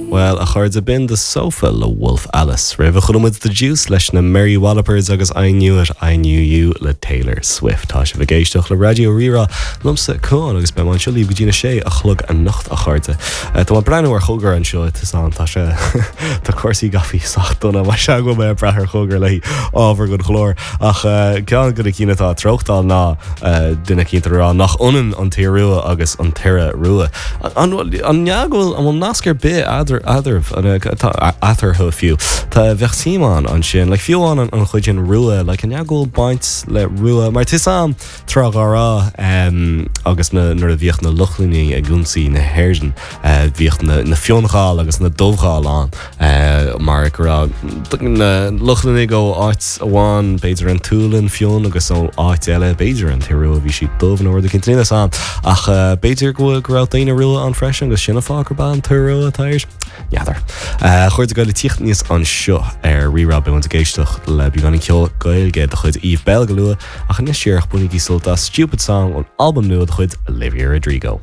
Bhuel, a chairde, b'in The Sofa le Wolf Alice. Roimhe chuala muid The Deuce leis na Mary Wallopers agus I Knew It, I Knew You le Taylor Swift. Tá sibh ag éisteacht le Raidió Rí-Rá liomsa, Cuán, agus beidh mé anseo libh go dtí na sé a chlog anocht, a chairde. Tá mé ag breathnú ar chogar anseo, tá san, tá sé, tá cúrsaí gafaí sách dona, mar sea go bhfuil mé ag brath ar chogar le ábhar don chlár. Ach ceann de na cinn atá ag treochtáil ná duine eicínt ag rá nach ionann an tIorua agus an tIora Rua. An ea go bhfuil, an bhfuil nasc ar bith eadarthu, eatarthu fiú? Tá, bheadh suim ann ansin, like fiú amháin an chuid sin rua, like an ea go bhfuil baint le rua, mar tá 'fhios a'm tráth dá raibh agus na, nuair a bhíodh na Lochlannaigh ag ionsaí na hÉireann, bhíodh na, na Fionnghail agus na Dubhghaill ann. Mar go raibh na Lochlannaigh ó áit amháin, b'fhéidir an tSualainn, fionn, agus ó áit eile, b'fhéidir an tIorua, bhí siad dubh nó rud éicint, níl 'fhios a'm. Ach b'fhéidir go bhfuil, go raibh daoine rua ann freisin agus sin an fáth gurb an tIorua atá air? N'fheadar. A chairde ag tíocht aníos anseo ar Rí-Rá beidh muid ag éisteacht le beagáinín ceol Gaeilge de chuid Eve Belle go luath, ach anois díreach bainigí sult as Stupid Song ón albam nua de chuid Olivia Rodrigo.